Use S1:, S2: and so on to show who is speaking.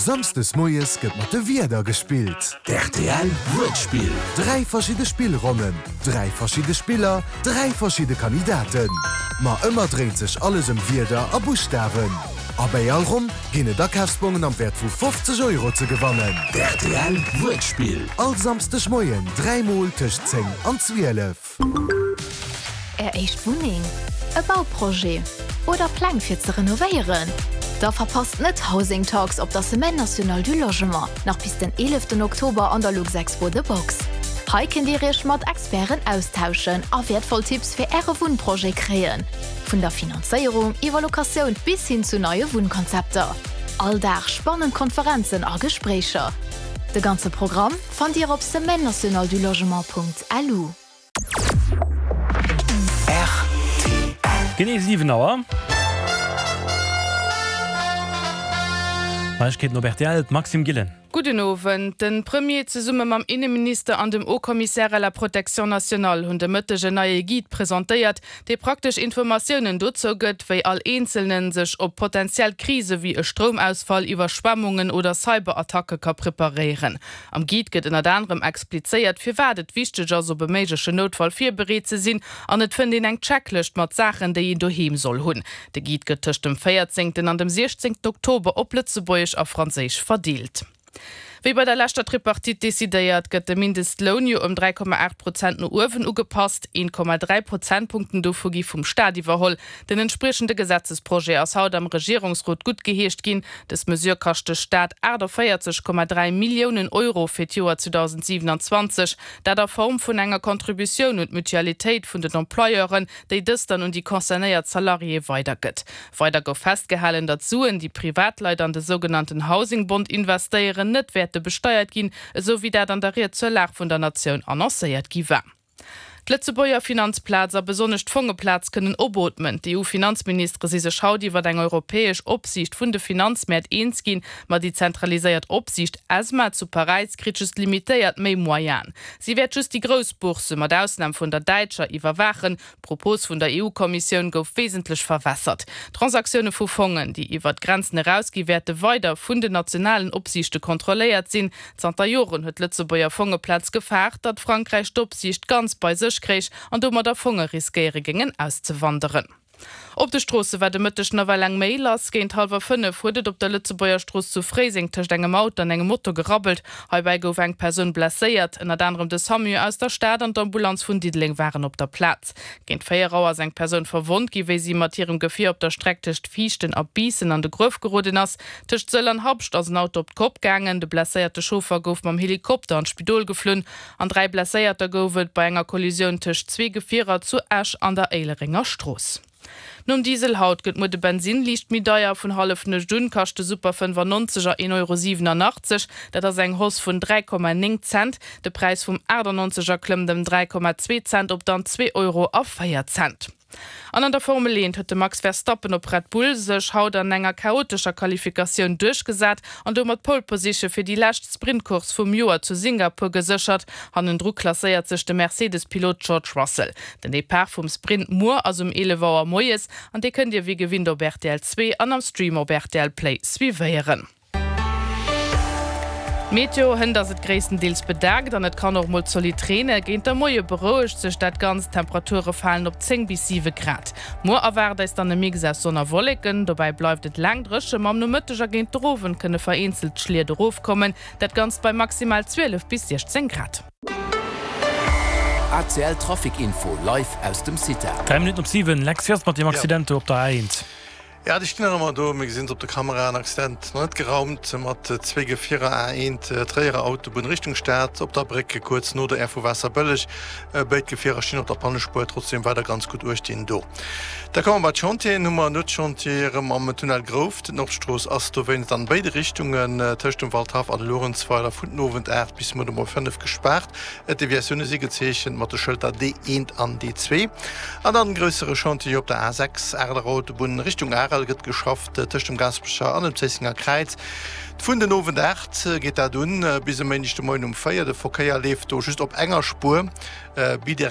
S1: Samsdes moies gëtt mat de Wierder gespillt.
S2: D'RTL Wuertspill.
S1: 3 verschidde Spillronnen, 3 verschidde Spiller, 3 verschidde Kandidaten. Ma ëmmer dréint sech alles ëm Wierder a Buschtawen. A bäi all Ronn ginn et Akafsbongen am Wäert vu 50 Euro ze gewannen.
S2: D'RTL Wuertspill.
S1: All Samsdeg Moien 3 mol tëscht 10 an 12.
S3: Är éischt Wunneng, e Bauprojet oder Pläng fir ze renovéieren? Da verpasst net Housing Talks op der Semaine Nationale du Logement, nach bis den 11 Oktober an der Luxexpo The Box. Hei kënnt Dir Iech mat Experten austauschen a wäertvoll Tipps fir Äre Wunnprojet kréien, vun der Finanzéierung iwwer Locatioun bis hin zu neie Wunnkonzepter. All Dag spannend Konferenzen a Gespréicher. De ganze Programm fannt Dir op semaine-nationale-du-logement.lu.
S4: Rtl. Genee 7 Auer. Neiegkeeten op rtl, d'Maxime Gillen.
S5: Gudden Owend. De Premier zesumme mam Inneminister an dem Haut Commissaire à la protection nationale hunn de Mëtteg en neie Guide presentéiert, dee praktesch Informatiounen dozou gëtt, wéi all Eenzelne sech op potentiell Krise wéi e Stroumausfall, Iwwerschwemmungen oder Cyberattacke ka preparéieren. Am Guide gëtt ënnert anerem explizéiert, firwat et wichteg ass, op e méiglechen Noutfall virbereet ze sinn an et fënnt een eng Checklëscht mat Saachen, déi een doheem soll hunn. De Guide gëtt tëscht dem 14. an dem 16. Oktober op Lëtzebuergesch a Franséisch verdeelt. Wéi bei der leschter Tripartite decidéiert, gëtt de Mindestloun jo ëm 3,8 Prozent no uewen ugepasst. 1,3 Prozentpunkten dovu gi vum Staat iwwerholl. Den entspriechende Gesetzesprojet ass haut am Regierungsrot guttgeheescht ginn. Dës Mesure kascht de Staat 48,3 Milliounen Euro fir d'Joer 2027. Dat a Form vun enger Contributioun un d'Mutualitéit vun den Employeuren, déi dës dann un déi concernéiert Salariéë weidergëtt. Weider gouf festgehalen, datt Suen, déi Privatleit an de sougenannten Housing-Bond investéieren, net wäerte besteiert ginn, esou wéi dat an der Ried zur Lag vun der Natioun annoncéiert gi war. D'Lëtzebuerger Finanzplaz a besonnesch d'Fongeplaz kënnen opootmen. D'EU-Finanzministere si sech haut iwwer eng europäesch Opsiicht vun de Finanzmäert eens ginn. Ma déi zentraliséiert Opsiicht ESMA zu Paräis kritt just limitéiert méi Moyenen. Si wäert just déi grouss Boursse, mat Ausnam vun der däitscher, iwwerwaachen. D'Propos vun der EU-Kommissioun gouf wesentlech verwässert. Transaktioune vu Fongen, déi iwwer d'Grenzen erausgi wäerte weider vun den nationalen Opsiichte kontrolléiert sinn. Zanter Joren huet d'Lëtzebuerger Fongeplaz gefaart, datt Frankräich d'Opsiicht ganz bei sech kréich an domadder Fonge riskéiere géingen auszewanderen. Op de Stroosse war de Mëtteg nawell eng Méi lass. Géint hallwer 5 huet et op der Lëtzebuerger Strooss zu Fréiseng tëscht engem Auto an engem Moto gerabbelt. Heibäi gouf eng Persoun blesséiert. Ënnert anerem de Samu aus der Stad an d'Ambulanz vun Diddeleng waren op der Plaz. Géint 4 Auer ass eng Persoun verwonnt gi wéi si mat hirem Gefier op der Streck tëscht Viichten a Biissen an de Gruef geroden ass. Tëscht Sëll an Habscht ass en Auto op d'Kopp gaangen. De blesséierte Chauffer gouf mam Helikopter an d'Spidol geflunn an 3 Blesséierter gouf et bei enger Kollisioun tëscht zwee Gefierer zu Esch an der Éilerenger Strooss. Nom Diesel haut gëtt muer de Bensinn liicht méi deier. Vun Hallefnuecht un kascht de Super 95 er 1,87 Euro. Dat ass eng Hausse vun 3,9 Cent. De Präis vum 98 er klëmmt ëm 3,2 Cent op dann 2 Euro a 4 Cent. An an der Formel 1 huet de Max Verstappen op Red Bull sech haut an enger chaotescher Qualifikatioun duerchgesat an domat d'Pole Position fir déi lescht Sprintcourse vum Joer zu Singapur geséchert. Hannendru klasséiert sech de Mercedes-Pilot George Russell. Den Depart vum Sprint muer ass um 11 Auer moies an dee kënnt Dir wéi gewinnt op rtl 2 an am Stream op rtl Play suivéieren. Meteo, Hënt ass et gréisstendeels bedaakt an et kann och mol zolidd reene. Géint der Moie berouegt sech dat Ganzt, d'Temperature falen op 10 bis 7 Grad. Muer erwaart eis dann e Mix aus Sonn a Wolleken, dobäi bleift et laang dréche, ma am Nomëtteg a géint der Owend kënne vereenzelt Schliet erofkommen, dat Ganzt bei maximal 12 bis 16 Grad.
S2: ACL Trafic Info live aus dem CITA.
S4: 3 Minutten op 7, Lex Jos mat dem Accident do op der A1.
S6: Jo, déi stinn nach ëmmer do. Mir gesinn se op de Kameraen. Accident nach net geraumt mat zwee Gefierer A1 Tréierer Autobunn Richtung Stad op der Bréck kuerz no der Aire vu Waasserbëlleg. Béid Gefierer stinn op der Pannespuer, trotzdeem weider ganz gutt uechtginn do. Da komme mer bei d'Chantieren. Hu mer en Nuetschantier erëm am Tunnel Grouft. D'Nordstrooss ass dowéinst an béide Richtungen tëscht dem Waldhaff an Luerenzweiler vun den Owend 8 bis muer de Moie 5 gespaart. D'Deviatioune si gezeechent mat de Schëlter D1 an D2. An dann gréissere Chantier op der A6, Areler Autobunn Richtung Arel, gëtt geschafft tëscht dem Gaasperecher an dem Zéissenger Kräiz. Vun den Owend 8 geet dat un bis e Méindeg de Moien um 4. De Verkéier leeft do just op enger Spuer bidirektional.